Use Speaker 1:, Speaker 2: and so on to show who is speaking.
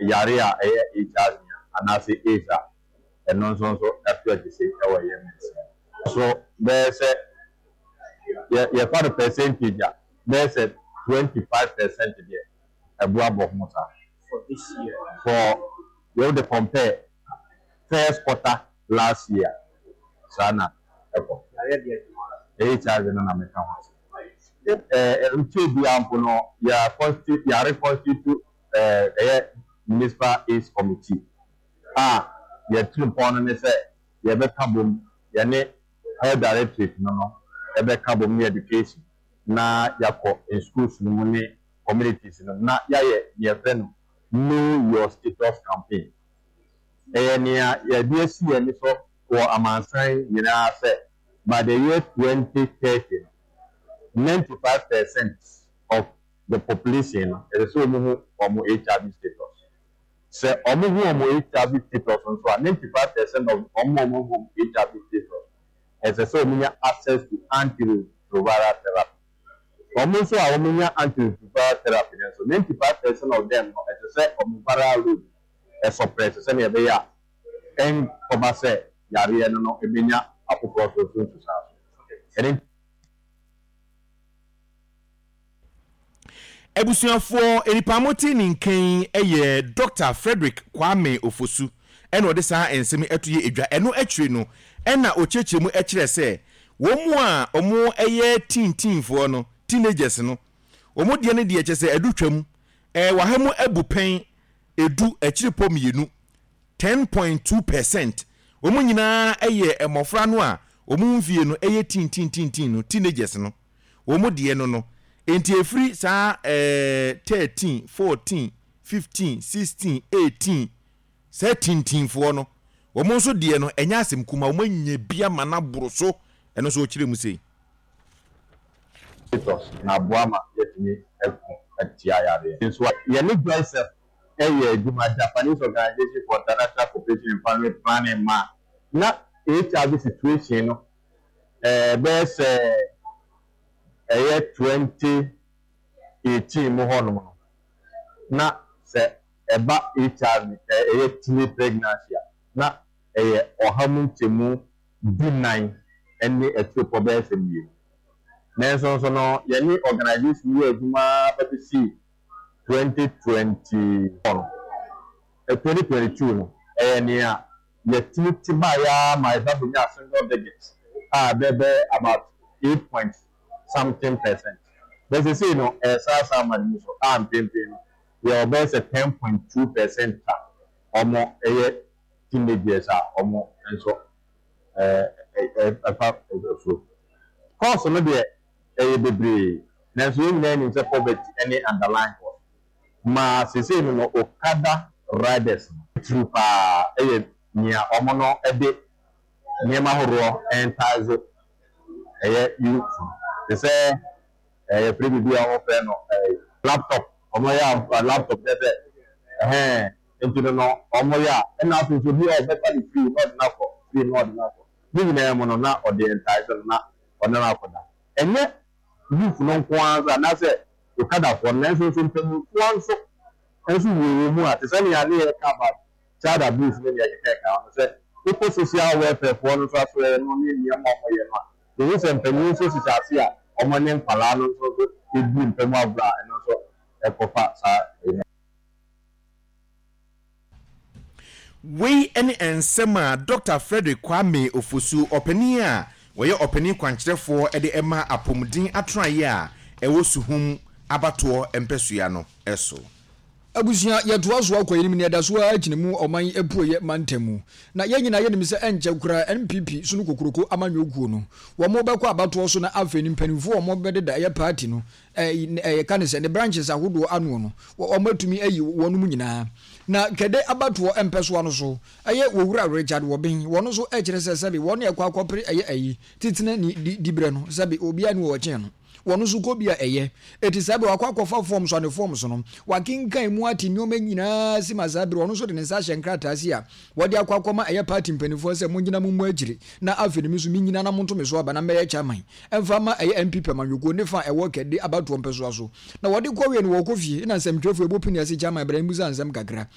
Speaker 1: yare a ɛyɛ HIV anaasɛ AIDS a, ɛno nso nso ɛto akyi wɔ yɛn mansini mu. So bɛyɛ sɛ yɛ yɛfa no percentage a, bɛyɛ sɛ 25% deɛ ɛboa bɔ ho saa.
Speaker 2: For this year.
Speaker 1: For yɛ wode compare first quarter last year saa na ɛkɔ.
Speaker 2: Yareɛ deɛ.
Speaker 1: HIV no na meka ho asɛm. Ɛɛ nkyɛn biara mpo no yɛ constitute yɛ reconstitute ɛɛ ɛyɛ municipal AIDS committee a yɛtiri mpɔn no ne sɛ yɛbɛka bom, yɛne health directorate no ɛbɛka bom ne education na yɛakɔ schools no mu ne communities no na yɛayɛ deɛ yɛfrɛ no Know Your Status campaign. Ɛyɛ nea yɛde asi yɛn ani so wɔ amansan nyinaa sɛ by the year 2030 no, 95% of the population no, ɛsɛ sɛ wɔn hu wɔn HIV status. Sɛ wɔn hu wɔn HIV status nso a, 95% of wɔn a wɔn hu wɔn HIV status, ɛsɛ sɛ wɔn nya access to antiretroviral therapy. Wɔn nso a wɔn nya antiretroviral therapy no nso, 95% of them no, ɛsɛ sɛ wɔn viral load ɛsuppress sɛnea ɛbɛyɛ a ɛnkɔba sɛ yareɛ no ɛbɛnya afoforɔ so nso nsusuanso. Ɛne
Speaker 3: Abusuafoɔ, nnipa a mote ne nka yi yɛ Dɔkta Frederick Kwame Ofosu ɛna ɔde saa nsɛm yi ɛto yɛ edwa. Ɛno akyire no ɛna ɔkyerɛkyerɛ mu ɛkyerɛ sɛ wɔn a wɔn ɛyɛ teen teenfoɔ no, teenagers no, wɔn deɛ no deɛ kyerɛ sɛ ɛdo twam, ɛɛ waha mu abu pɛn edu akyirepɔ mmienu, 10.2%. Wɔn nyinaa yɛ mmɔfra no a wɔn mfie no yɛ teen teen teen teen no, teenagers no. Wɔn deɛ no no. Enti ɛfiri saa ɛɛ 13, 14, 15, 16, 18, saa tintinfoɔ no, wɔn nso deɛ no ɛnyɛ asɛm kuma, wɔn anya bi ama no aboro so. Ɛno nso ɔkyerɛ mu sei.
Speaker 1: Status na aboa ma yɛatumi ako atia yareɛ. Nso a, yɛne Joseph yɛ adwuma, Japanese Organization for International Cooperation and Family Planning ma na HIV situation no bɛyɛ sɛ ɛyɛ 2018 mu hɔnom no, na sɛ ɛba HIV ɛyɛ teenage pregnancy a, na ɛyɛ 14% ne akyirepɔ bɛyɛ sɛ 2. Nanso nso no, yɛne organization yɛ adwuma bɛbɛsi 2024 no, 2022 no, ɛyɛ nea yɛtumi te baeɛ ara ma yɛba bɛnya single digit a ɛbɛbɛ about 8 point something percent. But seesei no, ɛyɛ saa saa ma no mu so a mpempem no, yɛwɔ bɛyɛ sɛ 10.2% a wɔn ɛyɛ teenagers a wɔn nso ɛfa afuro. Cause no deɛ ɛyɛ bebree, nanso yɛn nyinaa nim sɛ poverty ne underlying cause. Ma seesei no no Okada riders no tiri paa ɛyɛ nea wɔn no de nneɛma ahoroɔ entice ɛyɛ youth no. Te sɛ ɛyɛ firi biribi a wɔfrɛ no ɛɛ laptop, wɔn yɛ a laptop kyerɛ sɛ ɛhɛn nti no wɔn yɛ a, ɛna afei nso obi a ɔbɛfa ne free na ɔde no akɔ free na ɔde no akɔ ne nyinaa mu no na ɔde entice no na ɔne no akɔda. Ɛnyɛ youth no nko ara nso anaasɛ Okadafoɔ no, nanso nso mpanimfoɔ nso nso wɔ wɔn mu a te sɛ nea ne yɛka about child abuse ne nea ɛkeka ɛka ho sɛ wokɔ social welfare foɔ no nso asɔre no ne nneɛma a wɔyɛ no a, yɛhu sɛ mpanyin nso hyehyɛ ase a wɔn ne nkwadaa no nso nso di mpam agorɔ a ɛno nso ɛkɔfa saa ɛyi no.
Speaker 3: Wei ne nsɛm a Dɔkta Frederick Kwame Ofosu, ɔpanin a ɔyɛ ɔpanin kwankyerɛfoɔ de ma apɔmuden atenaeɛ a ɛwɔ Suhum abatoɔ mpɛsoa no so.
Speaker 4: Abusua, yɛtoa so akɔ yɛnim na yɛda so ara gyina mu ɔman apueɛ mantam mu. Na yɛn nyinaa yɛnim sɛ ɛnkyɛ koraa NPP sono kokuroko amanyɔ kuo no, wɔn bɛkɔ abatoɔ so na afei no mpanimfoɔ a wɔn bɛdeda ɛyɛ party no yɛka no sɛ ne branches ahodoɔ ano no, wɔn atumi ayi wɔn mu nyinaa. Na Kɛde abatoɔ mpɛsoa no so, ɛyɛ Owura Richard Wɔben, wɔn nso ɛkyerɛ sɛ sɛbe wɔn na ɛkɔ akɔpere ɛyɛ ayi, titena ni di, diberɛ no, sɛbe obiara ni wɔ ɔkyɛn no. Wɔn nso kɔ bi a ɛyɛ. Eti saa bere wakɔ akɔfa forms ane forms no, wakenkan mu ate nneɛma nyinaa si ma saa bere ɔno nso de ne nsa ahyɛ nkrataa si a wɔde akɔ akɔma ɛyɛ party mpanimfoɔ sɛ mongyina mo mmɔ akyire na afei no me nso menyina na monto me so aba na mɛyɛ chairman ɛmfa mma ɛyɛ NPP amanyɔkuo ne fa a ɛwɔ Kɛde abatoɔ mpɛsoa so. Na wɔde kɔ wie no wɔkɔ fie na nsɛmtwerɛfoɔ ɛbɔ pini ase chairman bra mmusa nsɛm kakra.